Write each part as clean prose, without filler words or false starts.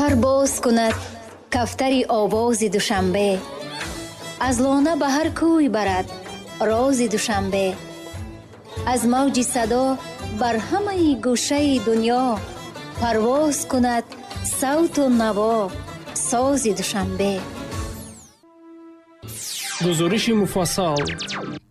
Пар боз кунад кафтари овози Душанбе, аз лона ба ҳар кӯй барад рози Душанбе, аз мавҷи садо бар ҳамаи гӯшаи дунё парвоз кунад савту наво сози Душанбе. Гузориши муфассал.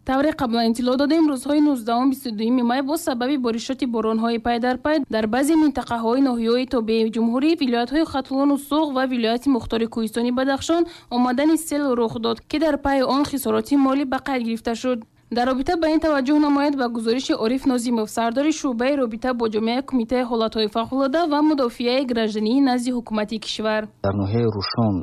Тавре қаблан иттилоъ додем, рӯзҳои 19-22 май бо сабаби боришоти боронҳои пай дар пай дар баъзе минтақаҳои ноҳияҳои тобеи ҷумҳурӣ, вилоятҳои Хатлону Суғд ва вилояти мухтори Кӯҳистони Бадахшон омадани сел рух дод, ки дар пайи он хисороти молӣ ба қайд гирифта шуд. Дар робита ба ин таваҷҷӯҳ намояд ба гузориши Ориф Нозимов, сардори шӯъбаи робита бо ҷомеаи Кумитаи ҳолатҳои фавқулода ва мудофиаи граждании назди ҳукумати кишвар. Дар ноҳияи Рӯшон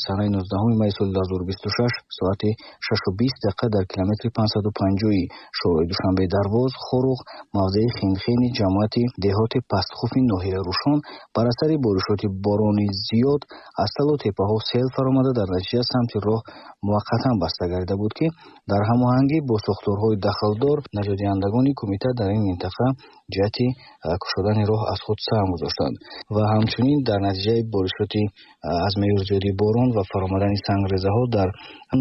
санаи 19 майи соли 2026 соати 6:20 дақиқа дар километри 550 шоҳроҳи Душанбе Дарвоз Хоруғ мавзеи Хинхини ҷамоати деҳоти Пастхуфи ноҳияи Рӯшон бар асари боришоти борони зиёд аз талу теппаҳо сел фаромада, дар натиҷа самти роҳ муваққатан баста гардида буд, ки дар ҳамоҳангӣ бо сохторҳои дахлдор наҷотдиҳандагони кумита дар ин минтақа ҷиҳати кушодани роҳ аз худ саҳм гузоштанд ва ҳамчунин дар натиҷаи боришоти аз меъёр зиёди борон ва фаромадани сангрезаҳо дар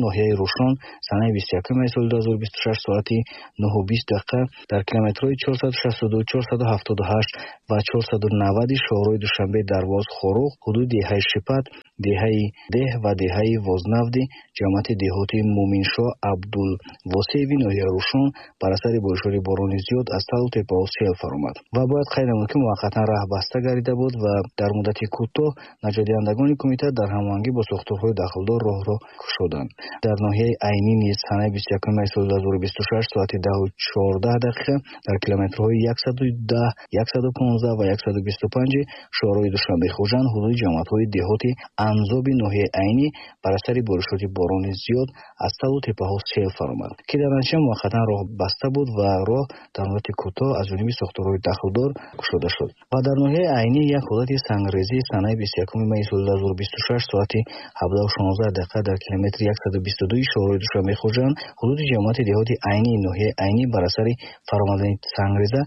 ноҳияи Рӯшон санаи 21 майи соли 2026 соати 9:20 дақиқа дар километрҳои 462, 478 ва 490 шоҳроҳи Душанбе Дарвоз Хоруғ ҳудуди деҳаи Шипат, деҳаи Деҳ ва деҳаи Вознавди ҷамоати деҳоти Муминшоҳ Абдулвосееви ноҳияи Рӯшон бар асари боришоти борони зиёд аз талу теппаҳо сел фаромад ва бояд қайд намуд, ки муваққатан раҳ баста гардида буд ва дар муддати кӯтоҳ наҷотдиҳандагони кумита дар ҳамоҳангӣ бо сохторҳои дахлдор роҳро кушоданд. Дар ноҳияи Айнӣ низ санаи 21 майи соли 2026 соати 10:14 дақиқа дар километрҳои 110, 115 ва 125 шоҳроҳи Душанбе Хуҷанд ҳудуди ҷамоатҳои деҳоти Анзоби ноҳияи Айнӣ бар асари боришоти борони зиёд аз талу теппаҳо сел фаромад, ки дар натиҷа муваққатан роҳ баста буд ва роҳ дар муддати кӯтоҳ аз ҷониби сохторҳои дахлдор кушода шуд. Ва дар ноҳияи Айнӣ як ҳолати сангрезӣ санаи 21 майи соли 2026 соати 17:16 дақиқа дар километри 122 шоҳроҳи Душанбе Хуҷанд ҳудуди ҷамоати деҳоти Айнӣ ноҳияи Айнӣ бар асари фаромадани сангреза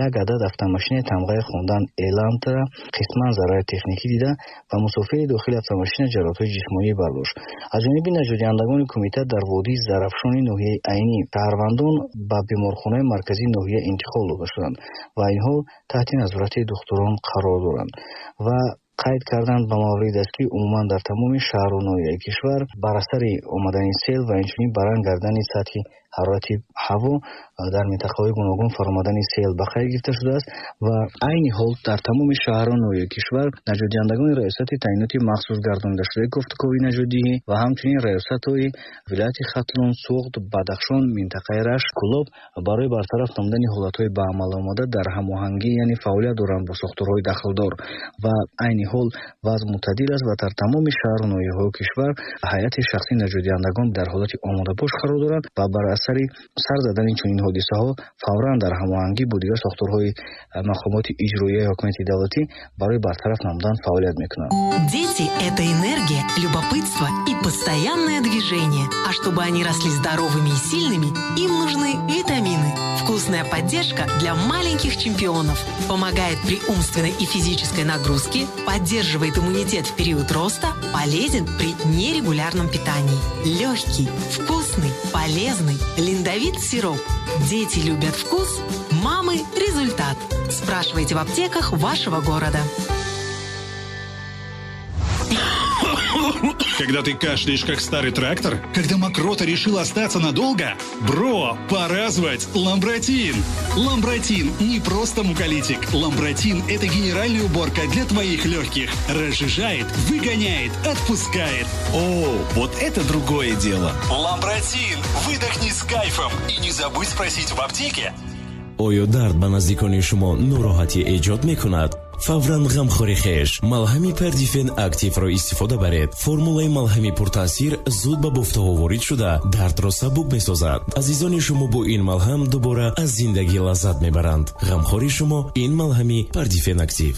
як адад автомошинаи тамғаи хондан Элантра қисман зарари техникӣ дида ва мусофири дохили автомошина ҷароҳатҳои ҷисмонӣ бардошт. Аз ҷониби наҷотдиҳандагони кумита дар водии Зарафшони ноҳияи Айнӣ шаҳрвандон ба беморхонаи марказии ноҳия интиқол дода шуданд ва инҳо таҳти назорати духтурон қарор доранд. Ва қайд карданд ба маврид аст, ки умуман дар тамоми шаҳру ноҳияи кишвар бар асари омадани сел ва инчунин баланд гардани сатҳи ҳарорати ҳаво дар минтақаҳои гуногун фаромадани сел ба қайд гирифта шудааст ва айни ҳол дар тамоми шаҳру ноҳияи кишвар наҷотдиҳандагони раёсати таъиноти махсус гардонидашудаи кофтукови наҷотдиҳӣ ва ҳамчунин раёсатҳои вилояти Хатлон, Суғд, Бадахшон, минтақаи Рашт, Кӯлоб барои бартараф намудани ҳолатҳои ба амал омада дар ҳамоҳангӣ, яъне фаъолият доранд бо сохторҳои дахлдор ва айни ҳол вазъ мӯътадил аст ва дар тамоми шаҳру ноҳияҳои кишвар ҳайати шахсии наҷотдиҳандагон дар ҳолати омодабош қарор доранд ва бар асари сар задани чунин ҳодисаҳо фавран дар ҳамоҳангӣ бо дигар сохторҳои мақомоти иҷроияи ҳокимияти давлатӣ барои бартараф намудан фаъолият мекунанд. Дети – это энергия, любопытство и постоянное движение. А чтобы они росли здоровыми и сильными, им нужны витамины. Вкусная поддержка для маленьких чемпионов. Помогает при умственной и физической нагрузке, поддерживает иммунитет в период роста, полезен при нерегулярном питании. Легкий, вкусный, полезный. Линдовит сироп. Дети любят вкус, мамы – результат. Спрашивайте в аптеках вашего города. Когда ты кашляешь, как старый трактор? Когда мокрота решила остаться надолго? Бро, пора звать Ламбратин! Ламбратин не просто муколитик. Ламбратин – это генеральная уборка для твоих легких. Разжижает, выгоняет, отпускает. О, вот это другое дело! Ламбратин! Выдохни с кайфом и не забудь спросить в аптеке. Оё дард ба наздикони шумо нороҳатӣ эҷод мекунад? Фавран ғамхори хеш малҳами Пердифен Активро истифода баред. Формулаи малҳами пуртаъсир зуд ба бофтаҳо ворид шуда, дардро сабук месозад. Азизони шумо бо ин малҳам дубора аз зиндагӣ лаззат мебаранд. Ғамхори шумо ин малҳами Пердифен Актив.